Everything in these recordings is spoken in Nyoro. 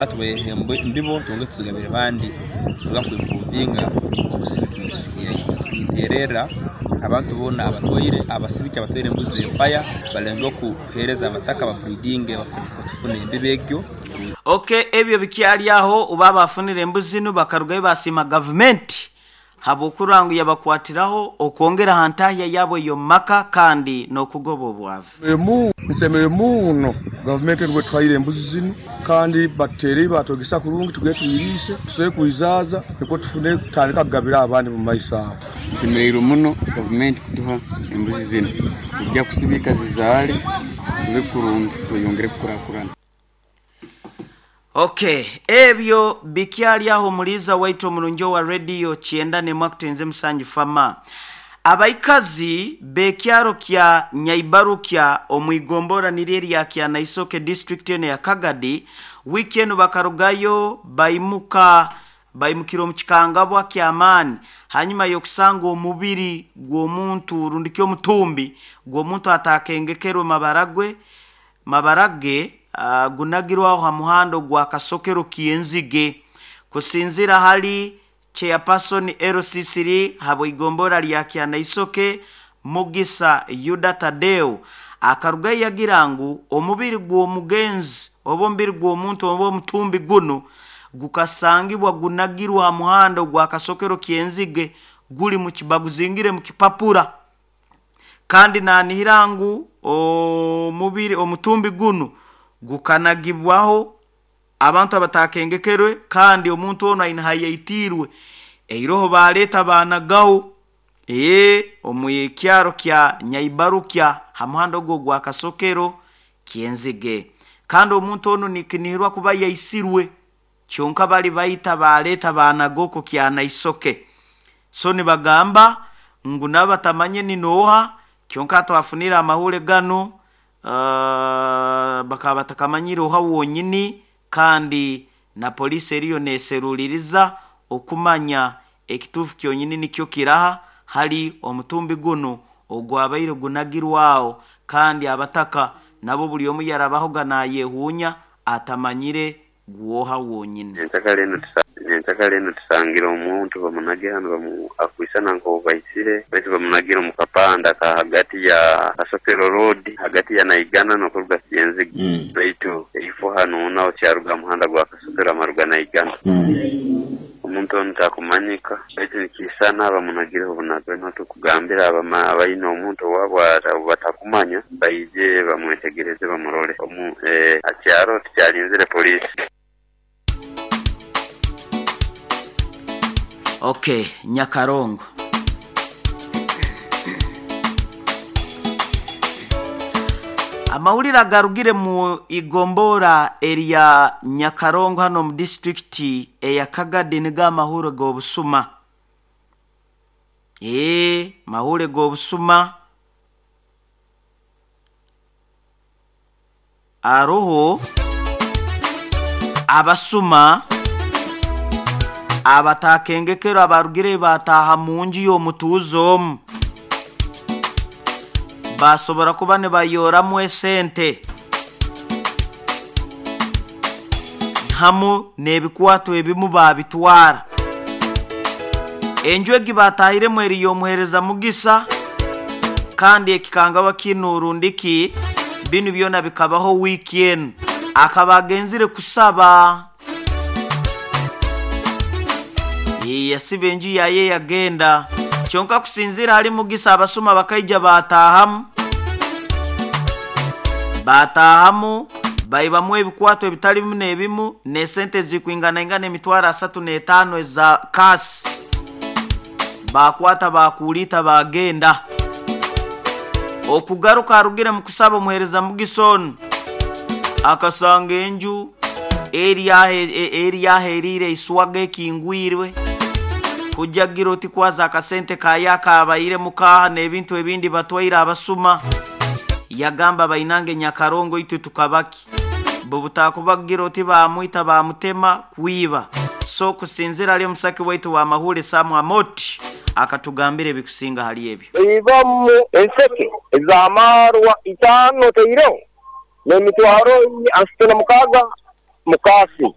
Tubahe embibo twongere tuzigabire abandi kuruga kwimpuruvinga obusibiki mu disiturikiti yaitu. Nintererra abantu boona abatwaire abasibiki abatwaire embuzi empaya balengeho kuheereza abataka baburiidinge tufune embibo egyo. Ok ebyo bikyali aho obu abafunire embuzi zinu bakarugayo basiima gavumenti habw'okurora ngu yabakwatiraho okwongera ha ntahya yabo ey'omu maka kandi n'okugoba obwavu. Nsemererwe muno gavumenti enu bwetuhaire embuzi zinu kandi batutereire batwegesa kurungi tugende twiriise tusobole kwizaaza nukwo tufune kutandika kugabira abandi mumaiso aho. Nsemereirwe muno gavumenti kutuha embuzi zinu. Tujja kusibika zizaale tube kurungi tweyongere kukurakurana. Ok ebyo bikyali aho omuliiza waitu omurungi owa rediyo kyenda n'emwe akutenze musanju fama. Abaikazi b'ekyaro kya Nyaibarukya omu igombora niryo erya Kyanaisoke disiturikiti enu eya Kagadi wiiki enu bakarugayo baimuka baimukira omu kikangabwa ky'amaani hanyuma y'okusanga omubiri gw'omuntu rundi ki omutumbi gw'omuntu ataakengekerwe mabara gwe mabara ge gunagirwe aho ha muhanda ogwa Kasokero Kyenzige. Kusinziira hali Chairperson LC3 habw'igombora lya Kyanaisoke Mugisa Yuda Tadeo akarugayo yagira ngu omubiri gw'omugenzi oba omubiri gw'omuntu oba omutumbi gunu gukasangibwa gunagirwe ha muhanda ogwa Kasokero Kyenzige guli mu baguzingire mu kipapura kandi nanihira ngu omubiri omutumbi gunu gukanagibwaho abantu abatakengekerwe kandi omuntu onu aine hayaitiirwe eiroho baleeta baanagaho ee omu kyaro kya Nyaibarukya ha muhanda ogu ogwa Kasokero Kyenzige kandi omuntu onu nikinihirwa kuba yaisirwe kyonka bali baita baleeta baanaga oku Kyanaisoke so nibagamba ngu nabo batamanye ni nooha kyonka twafunire amahuri ganu bakaba batakamanyire oha wonyini kandi na poliisi eriyo neeseruliriza okumanya ekituufu kyonyini nikyo kiraha hali omutumbi gunu ogwabaire gunagirwe aho kandi abataka nabo buli omu yarabahoga nayehuunya atamanyire gwoha wonyini. Nyenkyakara enu tusangire omuntu bamunagire hanu akwisana nk'ou baisire baitu bamunagire omu kapande aka hagati ya Kasokero Road hagati ya Naigana n'okuruga Kyenzige baitu eifo hanu naho kyaruga ha muhanda gwa Kasokero amaruga Naigana. Omuntu onu takumanyika baitu nikisana bamunagireho bunagwa. Niho tukugambira abaine omuntu owaabo ou batakumanya baije bamwetegereze bamurole. Ha kyaro tukyalinzire poliisi. Ok, Nyakarongo. Amawulire agarugire mu igombora erya Nyakarongo hano omu disiturikiti eya Kagadi nigo amahure g'obusuma. Ee, mahure g'obusuma aroho abasuma abatakengekerwe abarugire bataaha mu nju y'omutuuze omu basobora kuba nibayoramu esente hamu n'ebikwato ebimu baabitwara. Enju egi baatahiremu eri y'omuheereza Mugisa kandi ekikangabwa kinu rundi ki binu byona bikabaho wiiki enu. Akaba agenzire kusaba. Yasiba enju yaye yagenda. Kyonka kusinziira hali Mugisa abasuma bakaija baataahamu. Baataahamu baibamu ebikwato ebitali bimu n'ebimu n'esente ezikwinganaingana emitwaro asatu n'etaano eza kaasi. Baakwata baakuuliita baagenda. Okugaruka arugire mu kusaba omuheereza Mugisa onu akasanga enju eri aho eriire eiswaga ekingwirwe kujagira oti kwaza akasente kaye akabairemu kaaha n'ebintu ebindi batwaire abasuma. Yagamba bainange Nyakarongo itwe tukabaki. Bo butakubagira oti baamwita baamutema kwiba. So kusinziira hali omusaki waitu wa Mahure Sam Amoti akatugambira ebikusinga hali ebyo. Baibamu enseke ez'amaarwa itaano otaireho n'emitwaro asatu na mukaaga. Mukasi.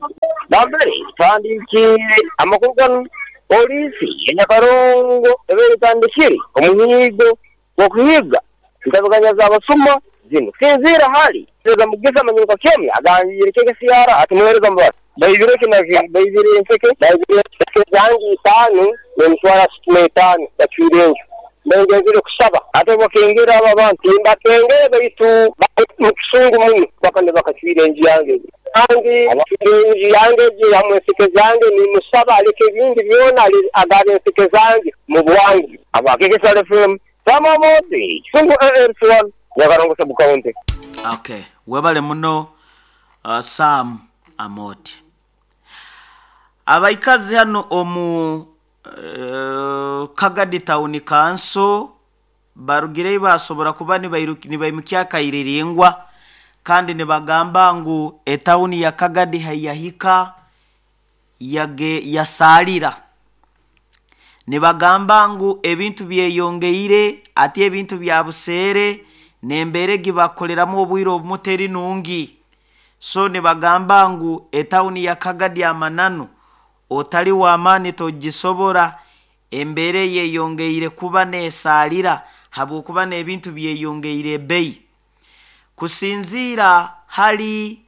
Nambere tuhandikiire amakuru ganu, poliisi ya Nyakarongo ebaire etandikire omuhiigo gw'okuhiiga entabiganya z'abasuma zinu. Kusinziira hali Pereza Mugisa Manyuka Kyomya agambiire KKCR ati muheereza mubasi baibire ki na ki, baibire enseke, baibire enseke zange itaanu n'emitwaro asatu n'etaano bacwire enju. Mbaire ngenzire kusaba ate obubakengera abo abantu timbakengere baitu bali mu kisungu muno paka nibakacwire enju yange egi. Kandi abacwire enju yange egi hamu enseke zange nimusaba aleke ebindi byona agabe enseke zange mu bwangu. Aba KKCR FM, Sam Amooti, Kisungu ALC1, Nyakarongo Sub County. Okay, webale muno Sam Amooti. Abaikazi hanu omu Kagadi Town Council barugireyo basobora kuba nibaimukya akairiringwa kandi nibagamba ngu etawuni ya Kagadi haiyahika yasaalira. Nibagamba ngu ebintu byeyongeire ati ebintu bya buseere n'embeera egi bakukoleramu obwire obumu teri nungi. So nibagamba ngu etawuni ya Kagadi amananu otali w'amaani togisobora, embeera eyeyongeire kuba neesaalira habwokuba n'ebintu byeyongeire ebbeyi. Kusinziira hali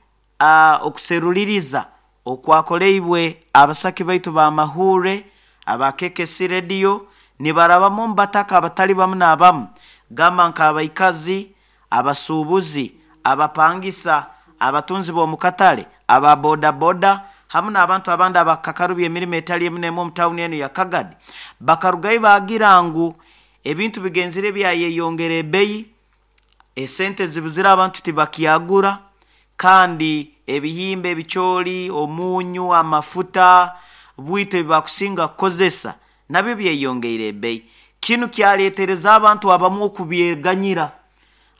okuseruliriza okwakoleibwe abasaki baitu b'amahuure aba KKC Radio nibarabamu omu bataka abatali bamu n'abamu gamba nk'abaikazi, abasuubuzi, abapangisa, abatunzi b'omu katale, aba bodaboda hamu n'abantu abandi abakakarubya emirimo etali emu n'emu omu tawuni enu ya Kagadi bakarugayo baagira ngu ebintu bigenzire byayeyongera ebbeyi, esente zibuzire abantu tibakyagura kandi ebihimba, ebicooli, omunyu, amafuta, bwito ebi bakusinga kukozesa nabyo byeyongeire ebbeyi. Kinu kyaleetereza abantu abamu okubyeganyira.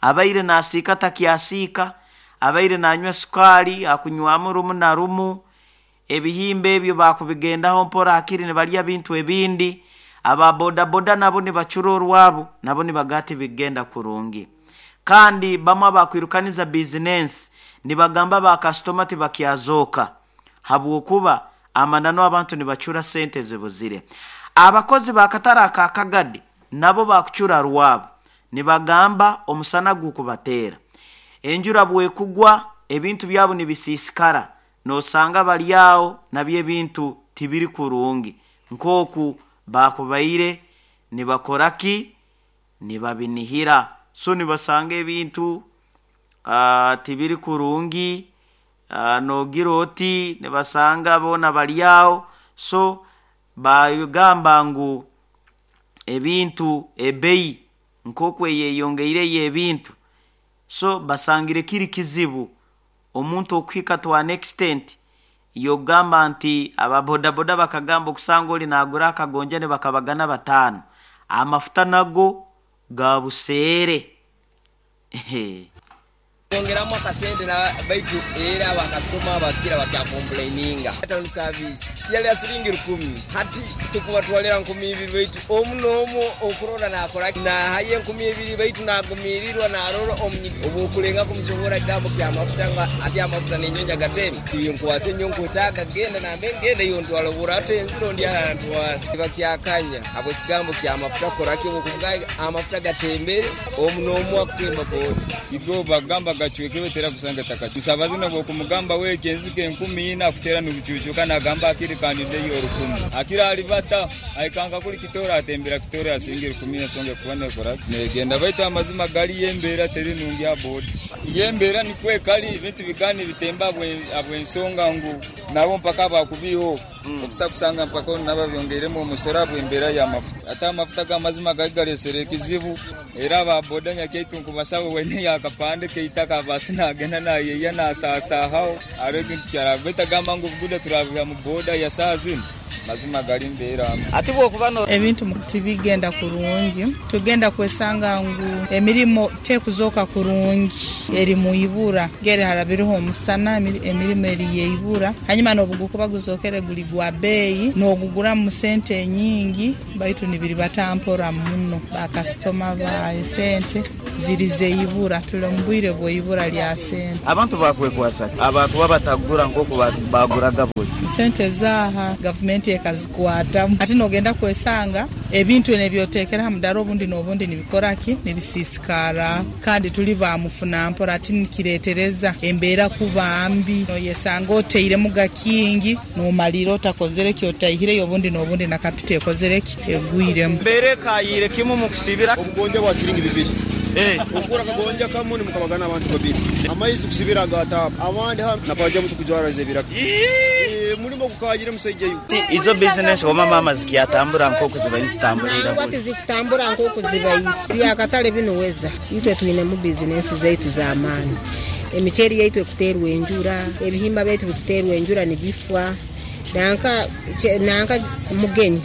Abaire naasiika takyasiika, abaire nanywa sukaali akunywamu rumu na rumu, ebihimba ebyo bakubigendaho mpora hakiri nibalya bintu ebindi. Aba bodaboda nabo nibacura orwabo, nabo nibagaa tibikugenda kurungi. Kandi bamu abakwirukaniza bizinensi nibagamba ba kasitoma tibakyazooka habwokuba amananu abantu nibacura sente zibuzire. Abakozi b'akatare aka Kagadi nabo bakucura rwabo nibagamba omusana gukubateera. Enjura bwekugwa ebintu byabo nibisiisikara noosanga bali aho nabyo ebintu tibiri kurungi nk'oku baakubaire nibakora ki? Nibabinihira. So nibasanga ebintu tibiri kurungi, noogira oti nibasanga boona bali aho so baagamba ngu ebintu ebbeyi nk'oku eyeyongeire ey'ebintu so basangire kiri kizibu omuntu okuhika to an extent y'okugamba nti aba bodaboda bakagamba okusanga oli naagura akagonja nibakabagana bataano, amafuta nago ga buseere. Twongeramu akasente na baitu era ba kasitoma bakira bakya komplaininga. Town service yali ya siringi rukumi hati tukubatwalira 2000 baitu omu n'omu okurora nakora ki nahayo 2000 baitu nagumirirwa narora omunyi obwokulenga kumusoborra ekigambo kya mafuta nga ati amafuta nenyonyi agatemi tibinkwasa enyo nkwetaaga genda nambe ngenda iwe ntwara obura atenzire ondi arantwara tibakyakanya habw'ekigambo kya mafuta kukora ki obwokuvuga amafuta gatembere omu n'omu akutemba boda. Igo bagamba gacwekebe tera kusanga etaka. Musabazi nobwokumugamba weki enzige 4,000 akutera nubucucuka nagamba akiri kandi ndeyo 1,000. Akiri alibata aikanga kuli kitore atembera kitore asinga 1,000 ensonga ekuba nekora negenda baitu amazima galiyo embera teri nungi aha boda. Iyo embera nikwo ekali ebintu bikaba nibitemba habwensonga ngu nabo mpaka bakubiiho okusa kusanga mpaka onu nabo abyongeiremu omusoro habw'embeera y'amafuta. Ate amafuta g'amazima gali galesere ekizibu era aba boda nyakyaitu nkubasaba weine akapande k'eitaka abaase nagenda nayeya nasaasahaho hariho ekintu kyaraba baitu agamba ngu obuguda turabiha mu boda ya saaha zinu. Mazima gali mbeera mbi. Ati bw'okuba no. Ebintu tibigenda kurungi, tugenda kwesanga ngu emirimo tekuzooka kurungi, eri mu ibura. Ngeri harabireho omusana, emirimo eri yeibura. Hanyuma n'obugukuba guzookere guli gwa beeyi, n'oguguramu sente enyingi, baitu nibiribata mpora muno. Bakasitoma ba esente ziri zeibura, tuli omu bwire bw'eibura lya sente. Abantu bakwekwasa ki abakuba batagura nk'oku baguraga buli? Sente zaaha gavumenti ekazikwatamu. Hati n'ogenda kwesanga ebintu n'ebyoteekere ha mudaara obundi n'obundi nibikora ki? Nibisiisikara. Kandi tuli ba mufuna mpora hati nikireetereza embeera kuba mbi. Noyesanga otairemuga kingi n'omaliira otakozere ki, otaihireyo obundi n'obundi na kapito ekozere ki? Egwiremu. Embeera ekayiire kimu mu kusibira. Obugonja bwa siringi bibiri. Okugura akagonja kamu nimukabagana abantu babiri. Amaizi kusibira aga taapu. Abandi hanu nabajamu tukujwara ez'ebiraka. Mulimo gukayire musaija iwe. Izo bizinesi oba maama zikyatambura nk'oku zibaire nizitambura ira Nangwa buli? tizikutambura nk'oku zibaire. Eby'akatale binu weza. Itwe twinemu bizinesi zaitu z'amaani. Emiceeri yaitu ekuteerwa enjura, ebihimba byaitu bikuteerwa enjura nibifwa. Nanka nanka mugenyi.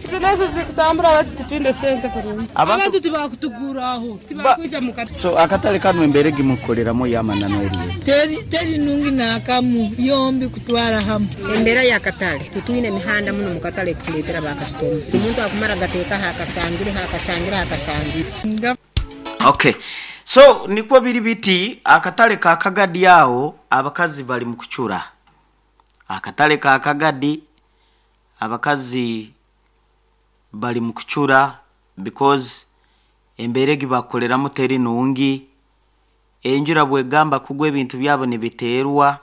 Bizinesi zikutambura baitu titwine sente kurungi. Abantu Abantu tibakutuguraho, tibakwija mu katale. So akatale kanu embeera egimukukoleramu ey'amananu eri eta? Teri teri nungi n'akamu, yombi kutwara hamu. Embeera y'akatale, titwine mihanda muno mu katale ekutuleetera bakasitoma. Omuntu akumara gateekaho akasangire, akasangire, akasangire. Okay. So nikwo biri biti akatale ka Kagadi aho abakazi bali mu kucura. Akatale ka Kagadi abakazi bali mu kucura because embeera egi bakukoleramu teri nungi. Enjura bwegamba kugwa ebintu byabo nibiteerwa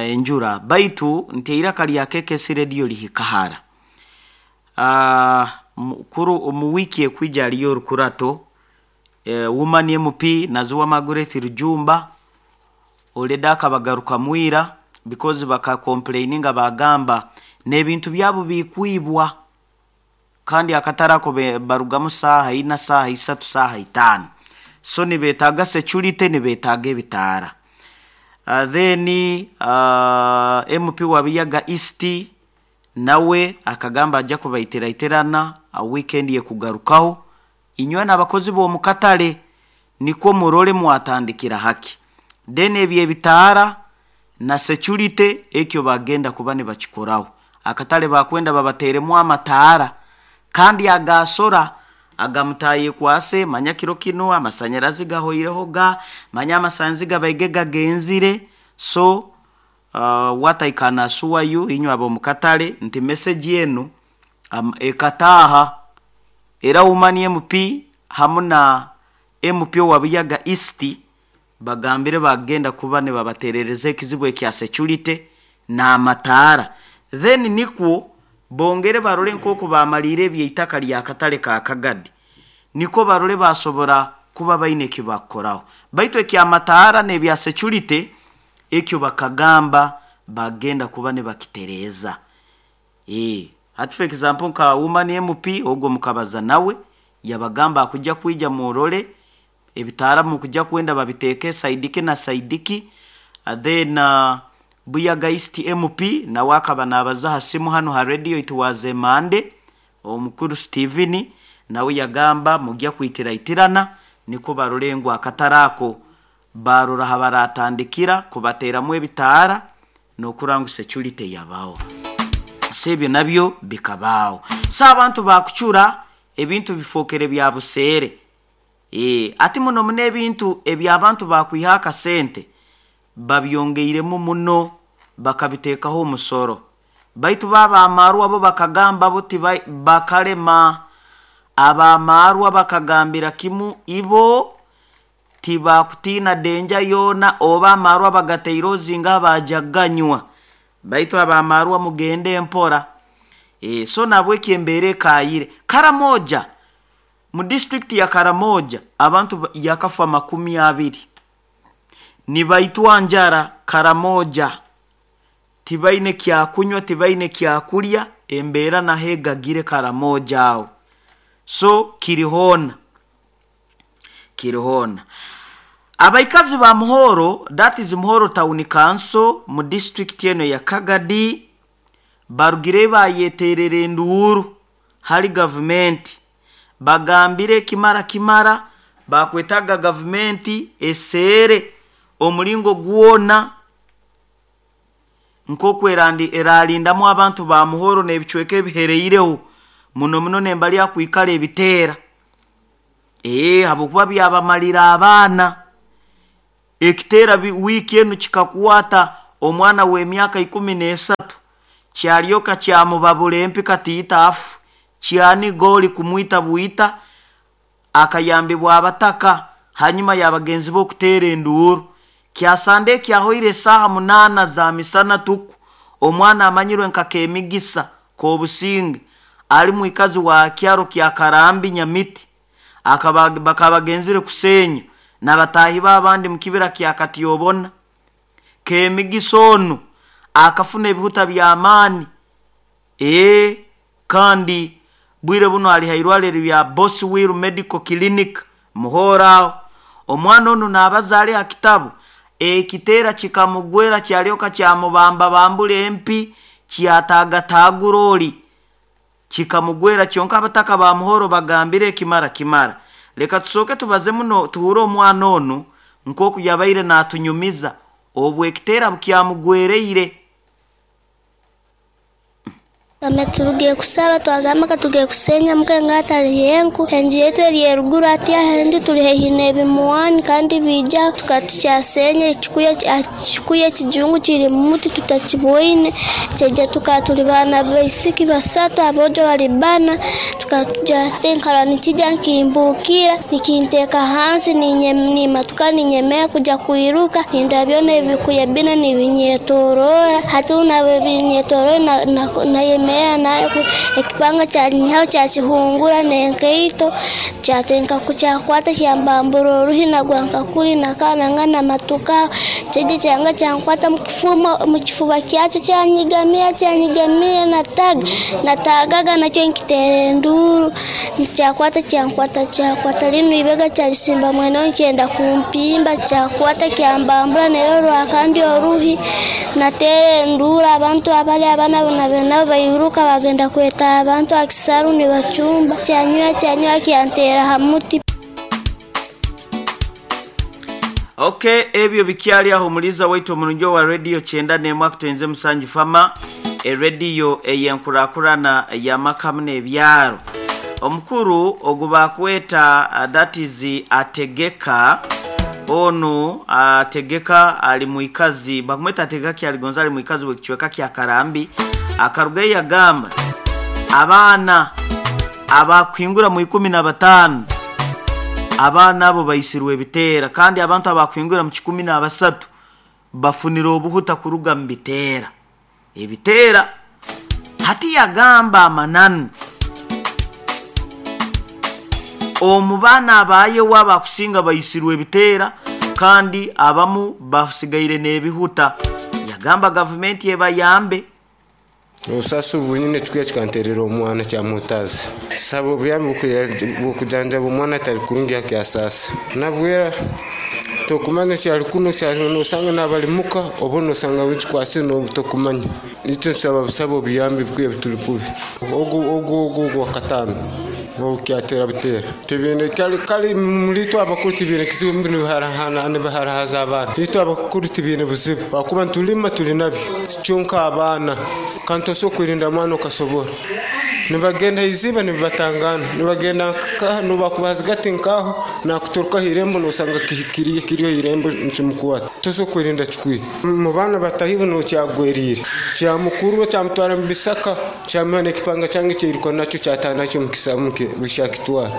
enjura. Baitu nti eiraka lya KKC Radio lihika hara. Kuru omu wiiki ekwija hariyo orukurato Woman MP Naziwa Margaret Rujumba already akabagarukamu ira because bakakomplaininga bagamba n'ebintu byabo bikwibwa kandi akatare ako barugamu saaha ina, saaha isatu, saaha itaano. So nibeetaaga security, nibeetaaga ebitaara. Then MP wa Buyaga East nawe akagamba ajja kubaitiraiterana weekend ekugarukaho. Inywe n'abakozi b'omu katale nikwo murole mwatandikira haki. Then ebyo ebitaara na security ekyo bagenda kuba nibakikoraho. Akatale bakwenda babateeremu amataara kandi agaasora agamutaayekwase manya kiro kinu amasanyarazi gahoireho ga manya amasanzi gabaige gagenzire. So what I can assure you inywe ab'omu katale nti message enu ekataaha era Woman MP hamu na MP owa Buyaga East bagambire bagenda kuba nibabateerereza ekizibu ekya security n'amataara. Then nikwo bongere barole nk'oku bamaliire eby'eitaka lya katale ka Kagadi nikwo barole basobora kuba baine eki bakukoraho. Baitu eky'amataara n'ebya security ekyo bakagamba bagenda kuba nibakitereeza. Hati for example nka Woman MP ogwo mukabaza nawe yabagamba akujja kwija murole ebitaara mukujja kwenda babiteeke saidiki na saidiki. Then Buyaga East MP nawe akaba naabaza ha simu hanu ha radio it was a Monday, omukuru Steven nawe yagamba mujja kwitiraitirana nikwo barole ngu akatare ako barora ha baratandikira kubateeramu ebitaara n'okurora ngu security yabaho. So ebyo nabyo bikabaho. So abantu bakucura ebintu bifookere bya buseere. Ati muno muno ebintu eby'abantu bakwiha akasente babyongeiremu muno bakabiteekaho omusoro. Baitu bo ab'amaarwa bo bakagamba bo bakalema. Ab'amaarwa bakagambira kimu ibo tibakutiina denja yoona oba amaarwa bagateire ozinga baja kuganywa. Baitu ab'amaarwa mugende mpora. So nabweki embeera ekaayire. Karamoja, mu disitulikiti ya Karamoja abantu yakafa 20. Nibaitwa njara Karamoja. Tibaine kyakunywa, tibaine kyakulya, embeera naho egagire Karamoja aho. So kiri hoona. Kiri hoona. Abaikazi ba Muhoro, that is Muhoro Town Council mu disitulikiti eno ya Kagadi, Barugire bayeterera enduuru hali gavumenti, bagambire kimara kimara bakwetaga gavumenti eseere omulingo gwona nk'oku eralindamu abantu ba Muhoro n'ebicweka ebihereireho muno muno nembali akwikara ebiteera. Habwokuba byabamalira abaana. Ekiteera wiiki enu kikakwata omwana w'emyaka 13, kyalyoka kyamubabura empi katiita afu, kyaniga oli kumwita bwita, akayambibwa abataka hanyuma y'abagenzi be okuteera enduuru. Kyasande ekyahoire esaaha 8 za misana tuku, omwana amanyirwe nka Kemigisa Kobusinge ali mwikazi wa kyaro kya Karambi Nyamiti, bakaba bagenzire kusenya n'abataahi be abandi mu kibira kya Katyobona. Kemigisa onu akafuna ebihuta by'amaani, kandi bwire buno ali hairwariro lya Boswell Medical Clinic Muhoro aho. Omwana onu naabaza ali ha kitabu, ekiteera kikamugwera kyalyoka kyamubambabambura empi, kyataagataagura oli, kikamugwera kyonka abataka ba Muhoro bagambire kimara kimara. Leka tusooke tubaze muno tuhure omwana onu nk'oku yabaire naatunyumiza obu ekiteera bukyamugwereire. Kame turugiye kusaba twagamba katugiye kusenya mukenga atali enku enju yetu eri eruguru ati ahenju tuli haihi n'ebimuwani kandi bija tukatukyasenya ekikuya ekijungu kiri mu muti tutakiboine kyeja tuka tuli baana baisiki basatu abojo bali bana tukatuja tenkara nikija nkimbukira nikinteeka hansi nimatuka ninyemea kuja kuiruka ninda byona ebikuya bina nibinyetorora hati nabwe binyetorora na yemera nayo ekipanga kyanyihaho kyakihungura n'enkaito kyatenka kukyakwata kyambambura oruhi nagwa nkakuri nakananga namatuka kyeje kyanga kyankwata mu kifuba kyakyo kyanyigamira natagaga nakyo nkitera enduuru kyakwata kyankwata linu ibega kyalisimba mwene kyenda kumpimba kyakwata kyambambura nero rwakandi oruhi natera enduuru abantu abali abana nabo bairuka bagenda kweta abantu akisaru nibachumba kyanywa kyantera hamuti. Okay, ebyo bikyali aho muliza waitu omulungi wa radio 91 kutenze musanju fama radio eyenkurakurana ya makamu n'ebyaro. Omukuru ogubakweta that is Ategeka onu Ategeka ali muikazi bakumweta Ategeka kyaligonza ali muikazi w'ekichweka kya Karambi akaruga yagamba abaana abakwingura mu 15 abaana abo baisirwe ebiteera kandi abantu abakwingura mu 13 bafunira obuhuta kuruga mu biteera ebiteera. Hati yagamba amananu omu baana abayewa bakusinga baisirwe ebiteera kandi abamu basigaire n'ebihuta. Yagamba gavumenti ebayambe. Obusaasi bunyine kikuya kikanterera omwana kyamutazi saba obuyambi bw'okujanjaba omwana atali kurungi akyasasa nabwera tokumanya kyali kuno nosanga nabalimuka oba nosanga wikikwasire tokumanya itwe nsaba busaba obuyambi bukwiye butuli kubi ogu wakatano okyatera butera tibine kali mulito abakuru tibine kizibu mbinu biharahaza abaana itwe abakuru tibine buzibu wakuba ntulima tuli nabyo kyonka abaana kandi tosobola kwirinda mwana okasobora nibagenda iziba nibatangana nibagenda nobakubazigati nkaho nakuturuka irembo nosanga kiriyo irembo nkimukwata tosobola kwirinda kikwiye mu baana batahibu nokyagwerire kyamukuru kyamutwara mu bisaka kyamuha n'ekipanga kyange kyairuka nakyo kyataha nakyo mukisamuke bishakitwara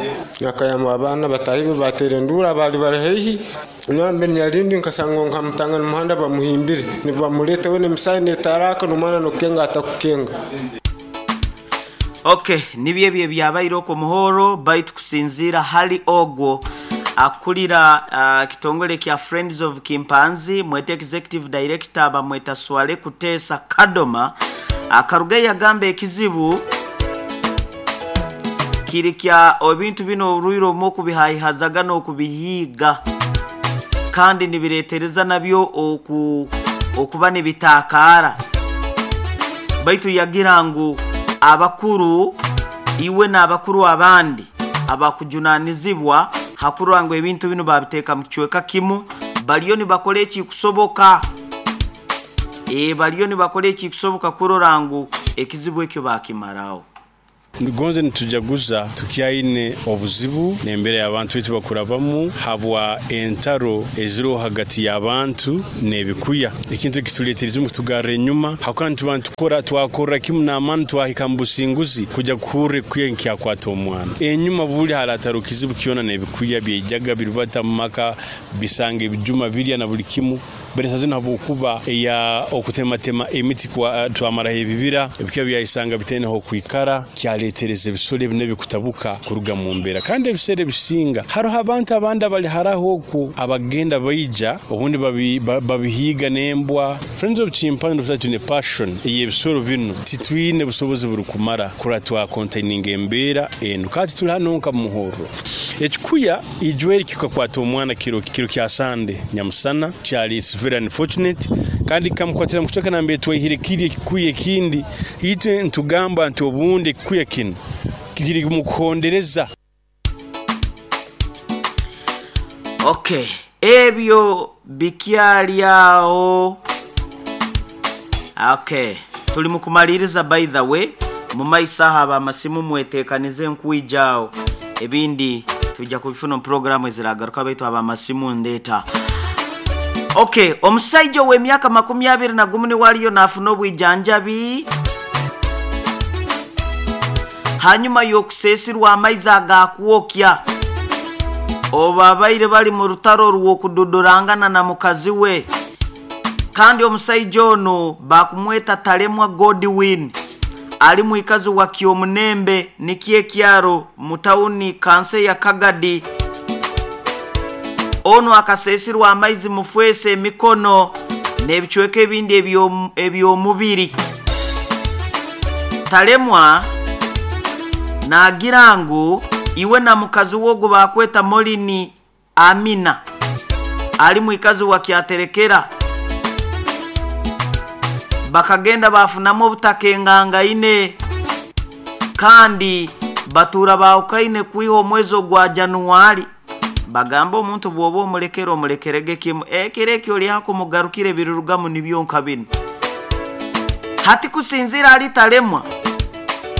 akayamba abaana batahibu batera endura bali bari haihi nambe nyarindi nkasanga nkamutanga mu muhanda bamuhimbire nibamuleta we n'emisaya netaraka n'omwana nokukenga atakukenga. Okay, nibyo ebyo byabaire okwo Muhoro baitu kusinziira hali ogwo akulira kitongole kya Friends of Kimpanzi mwete executive director bamweta Swale Kutesa Kadoma akaruga yagamba ekizibu kiri kya ebintu bino oruiro mu kubihaihazaga n'okubihiiga kandi nibiretereza nabyo okuba nibitakara. Baitu yagira ngu abakuru iwe n'abakuru abandi abakujunanizibwa hakurora ngu ebintu binu babiteeka mu kicweka kimu, baliyo nibakora ekikusoboka. Baliyo nibakora ekikusoboka kurora ngu ekizibu ekyo bakimaraho. Gonze nitujaguza tukyaine obuzibu n'embeera y'abantu baitu bakurabamu habwa entaro eziriho hagati y'abantu n'ebikuya. Ekintu ekituleeterize omu kutugarra enyuma habwokuba nituba nitukora twakorra kimu n'amaani twahika mu businguzi kujya kuhurra ekikuya nikyakwata omwana. Enyuma buli harataro kizibu kyona n'ebikuya byaijaga birubata mu maka bisanga ebijuma birya na buli kimu. Baitu zinu habwokuba eya okutematema emiti twamaraho ebibira, ebikuya byayisanga bitaine h'okwikara, kyaleetereza ebisoro ebi nabyo kutabuka kuruga mu mbeera. Kandi ebiseera ebisinga haroho abantu abandi abali haraho okwo abagenda baija obundi babihiiga n'embwa. Friends of Chimpanzee twine passion ey'ebisoro binu, titwine busobozi burukumara kurora twakontaininga embeera enu. Kandi tuli hanu nka Muhorro. Ekikuya ijweri kikakwata omwana kiro kya Sande nyamusana, kyali it's very unfortunate, kandi kikamukwatira mu kicweka nambere twaihire kiri ekikuya ekindi. Itwe nitugamba nti obundi ekikuya kinu kiri mu kuhondereza. Okay, ebyo bikyali awo. Okay, tuli mu kumaliriza by the way, mu maiso aho ab'amasimu mwetekanize nkwija awo. Ebindi twija kubifuna omu puroguramu eziragaruka baitu ab'amasimu ndeeta. Okay, omusaija ow'emyaka 21 niwe aliyo naafuna obwijanjabi hanyuma y'okuseesirwa amaizi agakwokya obu babaire bali mu rutaro rw'okududurangana na mukazi we. Kandi omusaija onu baakumweta Talemwa Godwin, ali mwikazi wa Kyomunembe nikyo ekyaro mu tawuni kanso eya Kagadi. Onu akaseesirwa amaizi mufwesa emikono n'ebicweka ebindi eby'omubiri. Talemwa naagira ngu iwe na mukazi we ogu baakweta Morini Amina, ali mwikazi wa Kyaterekera, bakagenda baafunamu obutakengangaine kandi batuura baahukaine kwiha omwezi ogwa Januwali. Bagamba omuntu bw'oba omulekere omulekerege kimu, ekiro eki oli hakumugarukira ebirurugamu nibyo nka binu. Hati kusinziira ahari Talemwa,